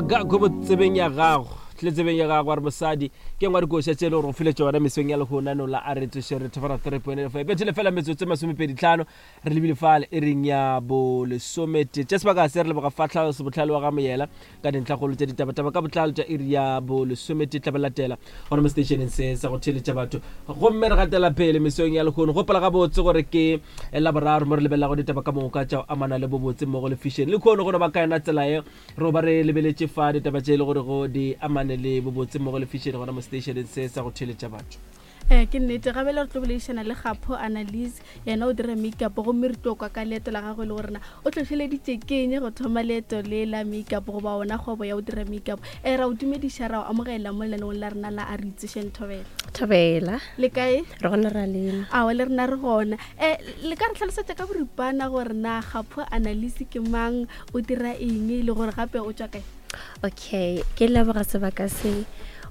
Gago bo tsebeng ya gago tle tsebeng ya gago a re mosadi ke ngwa dikoša tše e le gore go file tšona mesong ya lehono la a re tsoše re thofana 3.5 bethele fela metsotso e masomepeditlhano re lebile fale e reng ya bolesomete tša sebaka se re leboga fatlha sebotlhale wa ga moyela ka dintlhakgolo tša ditabataba ka botlalo tša iri ya bolesomete tla ba latela gona mo stationeng se sa go theeletša batho gomme re gatela pele mesong ya lehono gopola gabotse gore ke laboraro mo re lebelelago ditaba ka moka tša go amana le bobotse mmogo le fišene le kgono go no ba ka yona tsela ye re ba re lebeletše fa ditaba tše e le gore go di amane le bobotse mmogo le fišene gona mo stationeng se sa go theeletša batho Ee, ke nnete. Gabele re tlo boledišana le Kgapho Annalise, yena o dira makeup gomme re tlo kwa ka leeto la gagwe le gore na o hlohleleditše keng go thoma leeto le la makeup goba ona kgwebo ya go dira makeup. Ee, ra o dumediša, ra o amogela mo lenaneong la rena la A Re Itsošeng Thobela. Thobela. Le kae? Re gona ra lena. Aowa, le rena re gona. E, le ka re hlalosetša ka boripana gore na Kgapho Annalise ke mang, o dira eng le gore gape o tšwa kae? Okay, ke leboga sebaka se.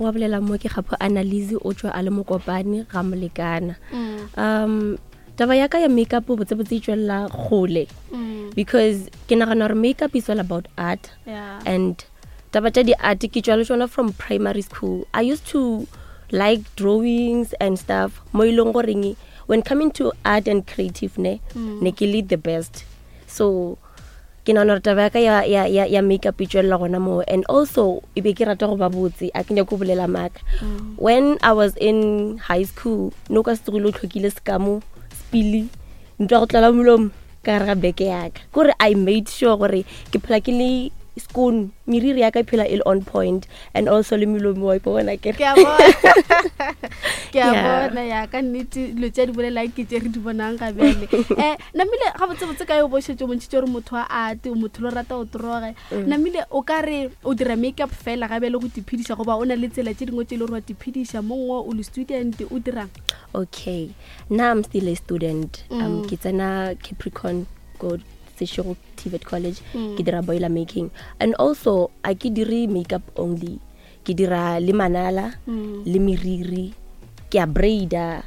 Wa bolela mo ke Kgapho Annalise o tšwa a le mokopane ga molekana. Mm. Um taba ya ka ya makeup botsebotse e tšwelela kgole mm. because ke nagana gore makeup is all about art yeah. and taba tša di-art ke tšwa le tšona from primary school i used to like drawings and stuff mo e leng goreng when coming to art and creative ne mm. ne ke le the best so ke nagana gore taba ya ka ya, ya, ya, ya makeup e tswelela gona moo and also e be ke rata go ba botse a ke nyako go bolela maaka mm. when i was in high school no ka se tsogile o tlhokile sekamo sepili ntwa go tlala molomo ka gare ga beke yaka kore i made sure gore ke phela ke le skoon meriri ya ka e phela e le on point and also le melomo wa ipona ke ke a bona ya ka nnete dilo tse di bolelang ke tse re di bonang ga bjale um namile ga botsebotse ka yo bošetse o bontšhitse gore motho wa ate o motho lo rata o toroge mm. namile o ka re o dira makeup fela ga bjale go tiphediša goba o na le tsela tse dingwe tse e le gore wa tiphediša mongwe o le student o dirang okay nna i'm still a student um mm. ke tsena capricorn go sešego tvet college mm. ke dira boiler making and also a ke dire makeup only ke dira le manala mm. le meriri ke a braida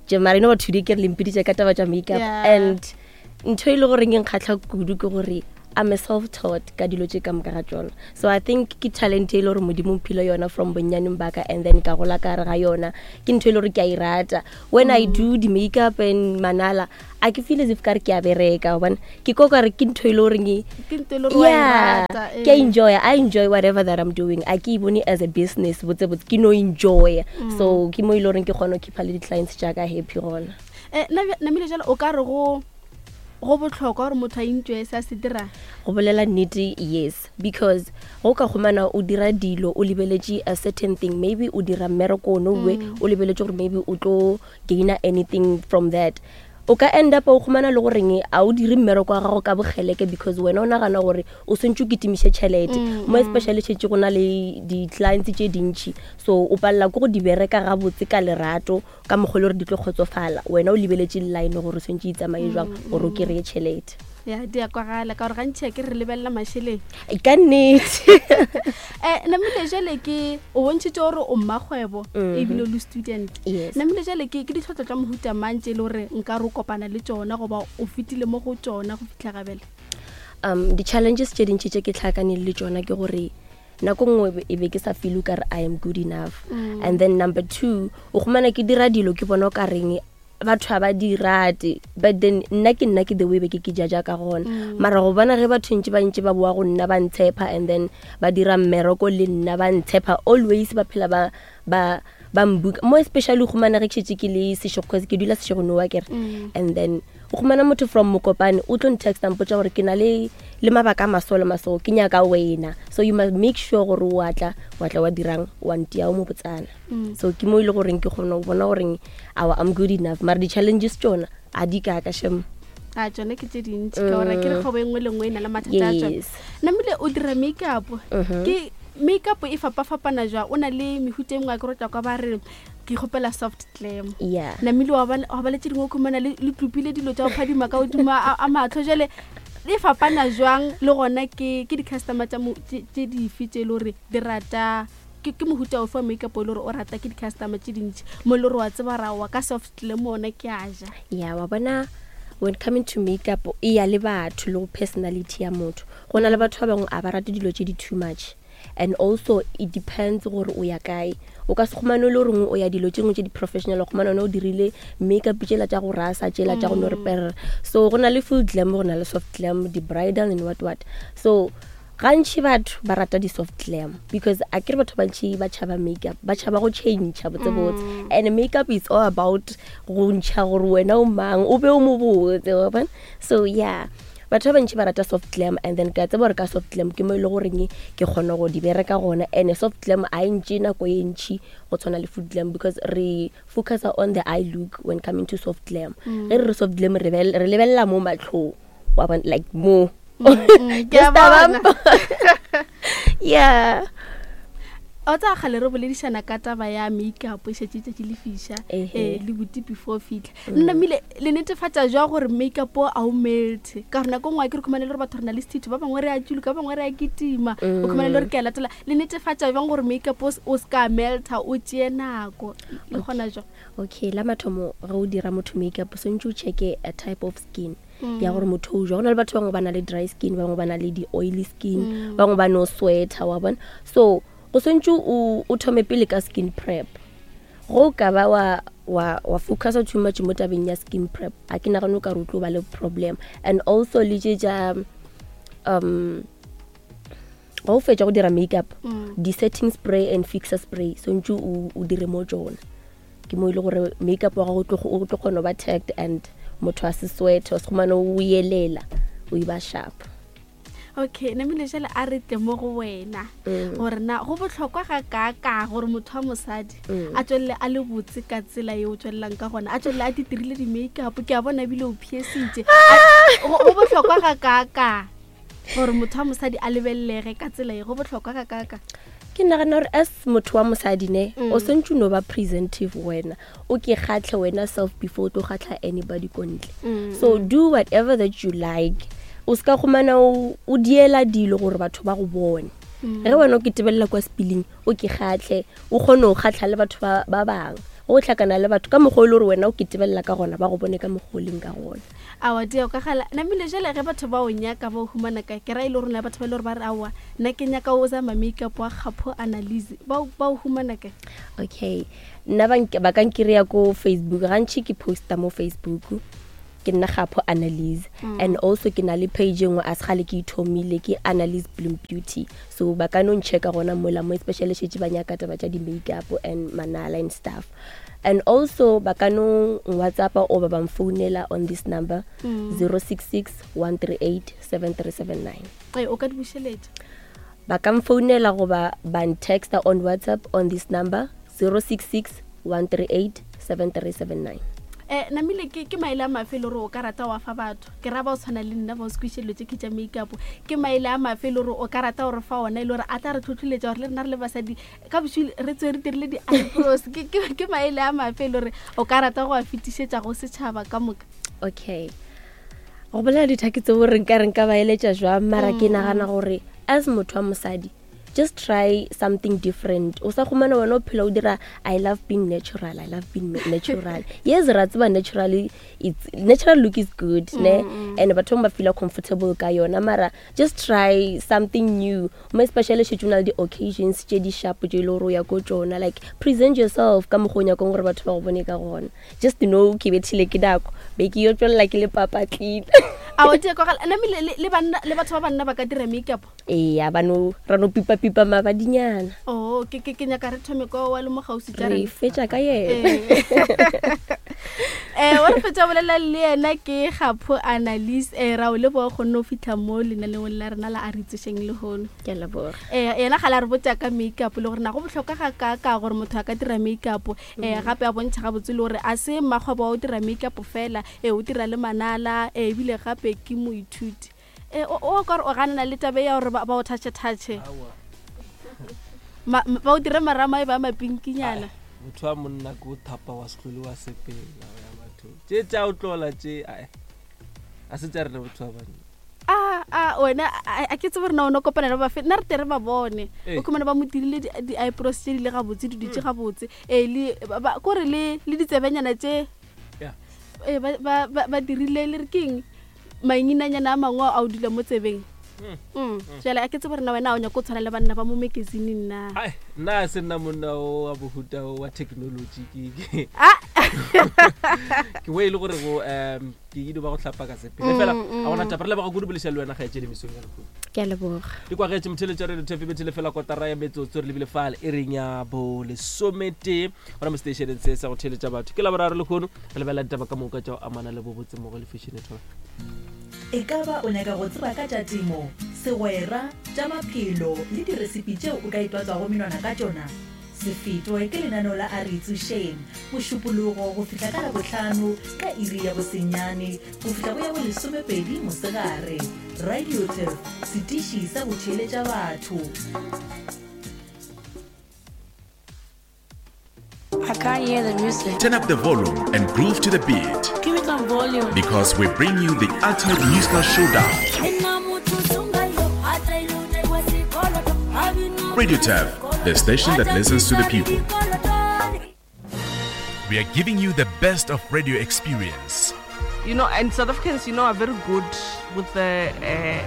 mara you know what today ke re lempeditše ka taba tša makeup yeah. and ntho e le goreng e nkgatlha kudu ke gore I'm a self-taught ka dilo tše ka moka ga tšona so i think ke talent e le gore modimo mphile yona from bonnyaneng baka and then ka gola ka gare ga yona ke ntho e le gore ke a e rata when mm. i do di-makeup and manala a ke feel as if kare ke a bereka gobane ke ko kare ke ntho e le goreng yeah ke a eh. enjoy i enjoy whatever that i'm doing a ke e bone as a business botse botse ke no enjoy mm. so ke mo e le goreng ke kgone go keepa le di-clients jaaka happy gona eh, namile jalo o ka re go go botlhokwa gore motho a enjoy se a se dirang go bolela nnete yes because go ka humana o dira dilo o lebeletše a certain thing maybe o dira mmereko ono we mm. o lebeletše gore maybe o tlo gainer anything from that o ka end up o khumana le goreng a o dire mmereko wa gago ka bogeleke because wena o nagana gore o swantse o kitimiše tšhelete mm, mo mm. especially šetse go na le di-clients tše dintšhi so o palela ke go di bereka gabotse ka lerato ka mokgwa le gore di tlo kgotsofala wena o lebeletše line gore o swantse itsamaye jwang mm, gore o kry-e tšhelete ya di a kwagala ka gore gantšhi a ke re lebelela mašeleng ka nnete um namile jale ke o bontšhitse gore o mmakgwebo mhm. ebile o le student namile jale ke ke ditlhotlo tsa mohuta mang tse e le gore nka re o kopana le tsona goba o fetile mo go tsona go fitlha gabele um di-challenges tše dintši tše ke tlhakaneng le tsona ke gore nako nngwe e be ke sa feel o kare i am good enough mm. and then number two o kgomana ke dira dilo ke bona o ka reng batho ga ba di rate but then nna ke nna ke the way be ke ke jaja ka gona mm. mara go bona ge batho ntse ba ntse ba boa go nna ba ntshepa and then ba dira mmereko le nna ba ntshepa always ba phela ba ba ba mbuka mo especially go mana ge ke šetse ke le sešego cause ke dula sešego nowa kere mm. and then o khumana motho from mokopane o tlo ntexta mpotsa gore ke na le le mabaka a maso le maso ke nyaka wena so you must make sure gore o atla wa tla wa dirang wa ntia o mo botsana mm. so ke mo e le goreng ke kgona go bona goreng awa i'm good enough mara di-challenges tsona a di kaka shem a tsone ke tse dintsi ka gore ke re mm. kgwebo e nngwe le nngwe e na le mathata a tsone namile o dira makeup mm-hmm. ke makeup e fapafapana jwa o na le mehuta e nngwe a ke rotla kwa ba re ke kgopela soft glam namile wa ba le tse dingwe khumana le tlopile dilo tsa go phadima ka godimo a matlho jale e fapana jwang le gona ke di-customer tse dife tse e le gore di rata ke ke mohuta ofe wa makeup o e le gore o rata ke di-customer tše dintši mo e le gore wa tseba ra wa ka soft le mona ke a ja ya wa bona when coming to makeup e ya le batho le go personality ya motho go na le batho ba bangwe a ba rate dilo tše di too much. And also it depends gore o ya kae. O ka se khumane le gore o ya dilo tše dingwe tše di-professional, o khumane o dirile makeup tšela tša go rasa, tšela tša go no re perere. So go na le full glam, go na le soft glam, di-bridal and what what. So gantši batho ba rata di-soft glam because a kere batho bantši ba tšhaba makeup, ba tšhaba go change botsebotse. And makeup is all about go ntšha gore wena o mang, o be o mo botse, wa bona? So yeah, batho ba bantši ba rata soft glam, and then ke a tseba gore ka soft glam ke mo e le goreng ke kgona go di bereka gona. And soft glam a e ntše nako e ntši go tshwana le full glam because re focus on the eye look when coming to soft glam. Ge re re soft glam, re lebelela mo matlhong, wa bona, like mo. Ke a Just a bona. bump. Yeah. O tsa kgale re boledišana ka taba ya makeup e šetše tšatši le fiša, le buti before fitlha. Nna mmile le netefatša jwa gore makeup o a o melte, ka gore nako nngwe a ke re khumane le gore batho re na le sethetho, ba bangwe re a tšuluka, ba bangwe re a kitima, o khumane le gore ke a latela. Le netefatša jwang gore makeup o se ka melta, o tšee nako le gona jwang? Okay, la mathomo ge o dira motho makeup, o swantse o checke a type of skin ya gore motho o jwa. Go na le batho bangwe ba na le dry skin, ba bangwe ba na le di-oily skin, ba bangwe ba no sweater, wa bona. So go swantse o thome pele ka skin prep. Go ka ba wa focusa too much mo tabeng ya skin prep, a ke nagane o ka re o tlo ba le problem. And also le tše tša, ga o fetša go dira makeup, di-setting spray and fixer spray swantse o dire mo tšona. Ke mo e le gore makeup wa gago o tlo kgona go ba tagged and motho a se sweat, o se khumane o yelela, o e ba sharp. Okay, namile jale a re tle mo go wena gore na go bohlokwa ga kaaka gore motho wa mosadi a tswelele a le botse ka tsela ye o tswelelang ka gona, a tswelele a ditirile di-makeup, ke a bona ebile o phiesitše. Go bohlokwa ga kaaka gore motho wa mosadi a lebelelege ka tsela ye, go bohlokwa ga kaaka? Ke nagana gore as motho wa mosadi ne, o swantse o no ba presentive wena, o ke kgatlhe wena self before o tlo kgatlha anybody ko ntle. So do whatever that you like. O ska khumana o diela dilo gore batho ba go bone. Ge wena o ke tebelela kwa spilling, o ke kgatlhe, o kgone go kgatlha le batho ba bangwe. O tlhakana le batho ka mokgwa o le gore wena o ke tebelela ka gona, ba go bone ka mokgwa o leng ka gona. Aowa, dia o ka gala. Namile jale ge batho ba o nyaka ba o humana kae? Ke ra e le gore na batho ba e le gore ba re aowa, nna ke nyaka o zama makeup wa Kgapho Annalise, ba o humana kae? Okay, nna ba ka nkry-a ko Facebook. Gantši ke posta mo Facebook, ke nna Kgapho Annalise. And also ke na le page e nngwe a se kgale ke ithomile, ke Annalise Bloom Beauty. So ba ka no nchecka gona mola mo, especially šetše ba nyaka taba tša di-makeup and manala and stuff. And also ba ka no WhatsApp or ba ba mfounela on this number, 066 138 7379. Ee, o ka di bušeletša? Ba ka mfounela goba ba ntexta on WhatsApp on this number, 066 138 7379. Namile ke maele a mafe e le gore o ka rata wa fa batho? Ke ra ba o tshwana le nna ba o se kwešiše dilo tše ke tša makeup. Ke maele a mafe e le gore o ka rata gore fa ona e le gore a tla re tlhotlholetša gore le rena re le basadi ka bošwi re tswe re dirile di-eyebrows? Ke maele a mafe e le gore o ka rata go a fetišetša go setšhaba ka moka? Okay, go bolela dithaki tse gore nka re nka ba eletša jwang, mara ke nagana gore as motho wa mosadi, just try something different. O sa khumana wena o phela o dira I love being natural, I love being natural. Yes, ra tseba naturally, it's natural look is good, ne? And batho ba feel comfortable ka yona, mara just try something new. Mo especially šetše o na le di-occasions tše di sharp tše e le gore o ya ko tšona, like present yourself ka mokgwa o nyakang gore batho ba go bone ka gona. Just to know ke bethile ke nako, be ke yo tswelela ke le papatlile. Aowa, di a kwagala. Namile le banna, le batho ba banna ba ka dira makeup? Eya, ba no, ra no pipa-pipa mabadinyana. Oh, ke nyaka re thome kwa wa le mo gausi tša Re rena. fetša ka yena. Wa re fetša bolela le yena ke Kgapho Annalise. Ra o leboga kgonne o fitlha mo lenaneong la rena la a re itsošeng lehono. Ke a leboga. Yena ga la re botša ka makeup le gore na go bohlokwa ga kaaka gore motho a ka dira makeup. Gape a bontšha gabotse le gore a se mmakgwebo wa o dira makeup fela, o dira le manala, ebile gape ke moithuti. O ka re o ganana le taba ya gore ba o touch-touch. Aowa. Ba o dire marama e ba mapinkinyana. Ai, motho wa monna ke o thapa wa setlole wa sepela, wa ya bathong. Tše tša o tlola tše, ai, a se tša rena botho ba banna. A, wena, a ke tsebe gore na o no kopana le ba fe, nna re tle re ba bone. O khumana ba mo dirile di-eyebrows tše di le gabotse, di dutše gabotse. Le, ba, ba, kore le, le ditsebenyana tše, ba, ba, ba, ba dirile le re keng? Mainginanyana a mangwe a o dula mo tsebeng. Mm. Jale a ke tsebe rena wena o nyako o tshwana le banna ba mo magazineng na? Ai, nna a se nna monna o wa bohuta o wa technology ke Ah! ke we e le gore go um ke ile ba go hlapa ka sepele fela a gona taba re leboga kudu bolešwa le wena kgaetšedi mesong ya lehono. Ke a leboga. Di kwagetše motheletša radio tafe bethele fela kotara ya metsotso re lebile fale e reng ya bo lesometee gona mo stationeng se sa go theletša batho ke laboraro lehono re lebelela ditaba ka moka tša go amana le bobotse mmogo le fashion thola. E ka ba o nyaka go tseba ka tša temo, segwera, tša maphelo le diresipi tšeo o ka itwatswago menwana ka tšona? Se fetwe ke lenaneo la A Re Itsošeng, Mošupologo go fihla ka Labohlano ka iri ya bosenyane go fihla go ya bolesomepedi mosegare. Radio Turf, setiši sa go theeletša batho. I can't hear the music. Turn up the volume and groove to the beat. Give me some volume. Because we bring you the ultimate musical showdown. Radio Turf, the station that listens to the people. We are giving you the best of radio experience. You know, and South Africans, you know, are very good with the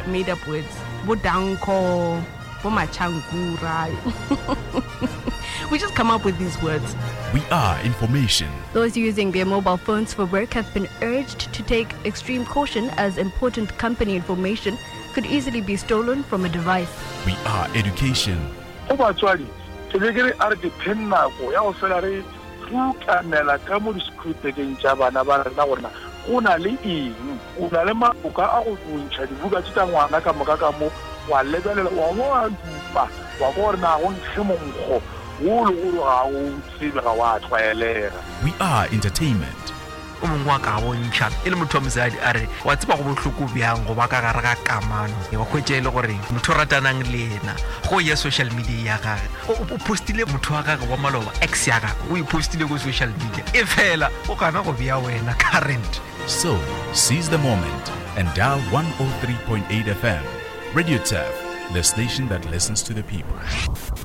made-up words. Bodanko, Bomachankura. We just come up with these words. We are information. Those using their mobile phones for work have been urged to take extreme caution as important company information could easily be stolen from a device. We are education. Go batswadi, ke be ke re a re dipheng nako ya go fela re rukanela ka mo disekhurupekeng tša bana ba rena gore na go na le eng. O na le maloka a go ntšha dibuka tše tša ngwana ka moka ka mo, wa lebelela, wa bo wa dupa, wa kwa gore na go nkge monkgo wo le gore ga o tsebe, ga wa tlwaelega. We are entertainment. O mongwe wa ka bontšha e le motho wa mosadi a re, Wa tseba go bohloko bjang go ba ka gare ga kamano wa hwetša e le gore motho o ratanang le yena go ya social media ya gage o postile motho wa gage wa maloba, ex ya gage o e postile ko social media, e fela o gana go bea wena current. So, seize the moment and dial 103.8 FM. Radio Turf, the station that listens to the people.